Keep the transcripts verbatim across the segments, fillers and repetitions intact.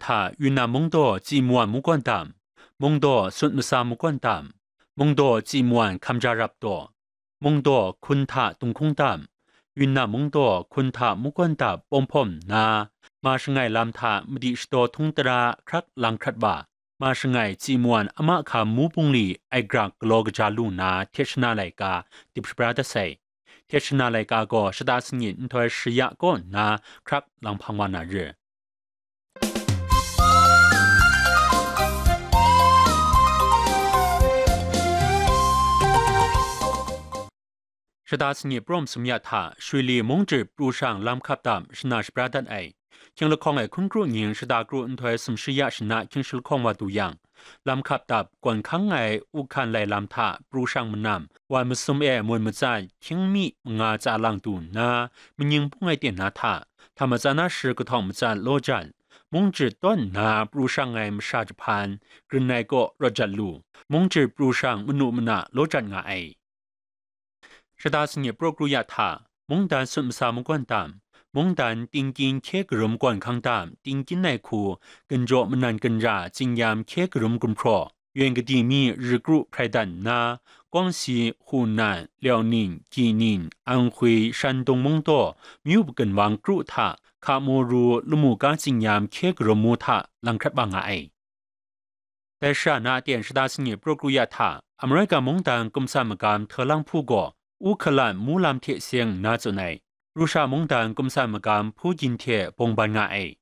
hta Yunnan mungdaw Tsi Muan Munggawn Dam, mungdaw Sut Masa Munggawn Dam, mungdaw Tsi Muan Hkamja Rap Daw, mungdaw Hkun hta Tunghkung Dam, Yunnan mungdaw Hkun hta Munggawn Dap pawng hpawm nna, ma shangai lam hta madi shadaw htung tara hkrak lang hkrat wa, ma shangai Tsi Muan Ama Hkam Mu Bungli ai grak galaw kaja lu nna hte shana laika dip shabra dat sai. Hte shana laika gaw shata sanit nhtoi shi ya kaw nna hkrak lang hpang wa na ri. Shata sanit prum sum ya hta, Shwili mung jrit pru shang lam hkap dap shana shabra dat ai. Hkying lahkawng ai hkun kru nying shata kru nhtoi sumshi ya shana hkying shalahkawng wa du yang, lam hkap dap gawn hkang ai u hkan lai lam hta pru shang manam, wan masum e mun matsat hkying mi manga tsa lang du nna, manying bung ai ten na hta, hta matsan na shi kahtawng matsat law jan, mung jrit tawn nna pru shang ai masha jahpan, grin ai kaw rawt jat lu, mung jrit pru shang manu mana law jat nga ai. Shata sanit pru kru ya hta, mungdan Sut Masa Munggawn Dam, mungdan Tingkyin Hkye Karum Gawn Hkang Dam, Tingkyin ai hku, Ginjaw Manan Ginra Tsingyam Hkye Karum Gumhpraw, Yuen Kadi Mi Ri Kru Hprai Dan nna, Guangxi, Hunan, Liaoning, Gining, Anhui, Shandong Mungdaw, Myu Pagan Wang Kru hta, Hkamu Ru Lamu Ka Tsingyam Hkye Karum Mu hta lang hkrat wa nga ai. Dai shara na aten shata sanit pru kru ya hta, Amerika mungdan Kumsan Magam Htalang Hpu gaw, U Hkalan Mu Lam hte seng nna tsun ai. Rusha mungdan Kumsan Magam Hpu Gyin hte bawng ban nga ai.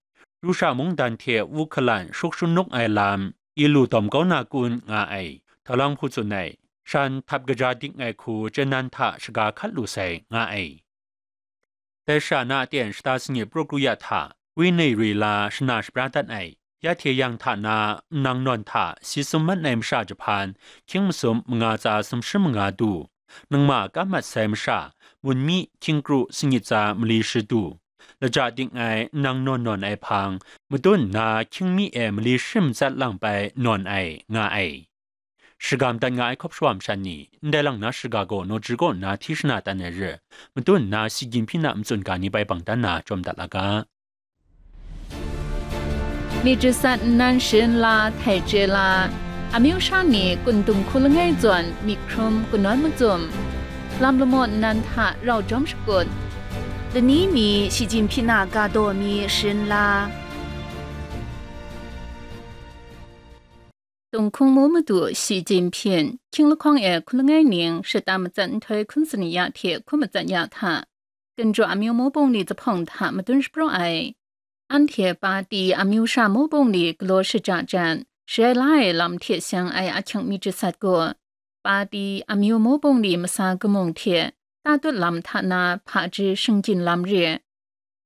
Rusha mungdan hte U Hkalan Shuk Shun Nuk Ai Lam, Ilu Dawm Kau Na Kun nga ai. Htalang Hpu tsun ai. Shan htap kaja dik ai hku chyen nan hta shaga hkat lu sai, nga ai. Dai shara na aten shata sanit pru kru ya hta, Winei Rila shana shabra dat ai. Ya hte yang hta na, nang nawn hta si sum mat ai masha jahpan, hkying masum manga tsa sumshi manga du, nangma kam mat sai masha, mun mi hkying kru sangit tsa mali shi du, laja dik ai nang nawn nawn ai hpang, madun nna hkying mi e mali shi matsat lang pai nawn ai, nga ai. Shagam dat nga ai hkawp shawa masha ni, ndai lang na shiga gaw nawji kaw nna hti shana tan ai re, madun nna si gyim hpyi na matsun ga ni bai bang dan na jawm dat la ga. Myit jasat nnan sharin la htai chye la, amyu sha ni kun dung hku langai zawn myit hkrum kanawn macum, lam lamaw nnan hta rau jawm shakut, lani mi shi jin hpyi na ga daw mi sharin la. Tunghkung mu madu shi jin hpyin, hkying lahkawng e hku langai ning shata matsat nhtoi hkun sani ya hte hku matsat ya hta, Ginjaw amyu mu bungli zuphpawng hta madun shapraw ai. Anhte pati amyu sha mu bungli galaw shaja jan, sharai la ai lam hte seng ai ahkying myit jasat gaw, pati amyu mu bungli masa kamung hte tatut lam hta na hpaji shinggyin lam re.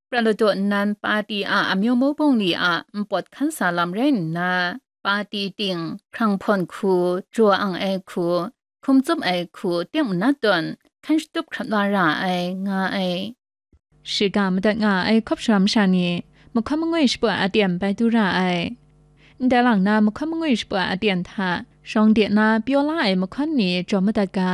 Prat ladaw nnan pati a amyu mu bungli a npawt hkan sa lam rai nna, pati ting, hkrang hpawn hku, jaw ang ai hku, hkum tsup ai hku, teng manat tawn, hkan shatup hkrat la ra ai, nga ai. Shiga madat nga ai hkawp sharam sha ni, mahkawn mangwi shapawt aten bai du ra ai. Ndai lang na mahkawn mangwi shapawt aten hta, shawng de na pyaw la ai mahkawn ni jawm madat ga,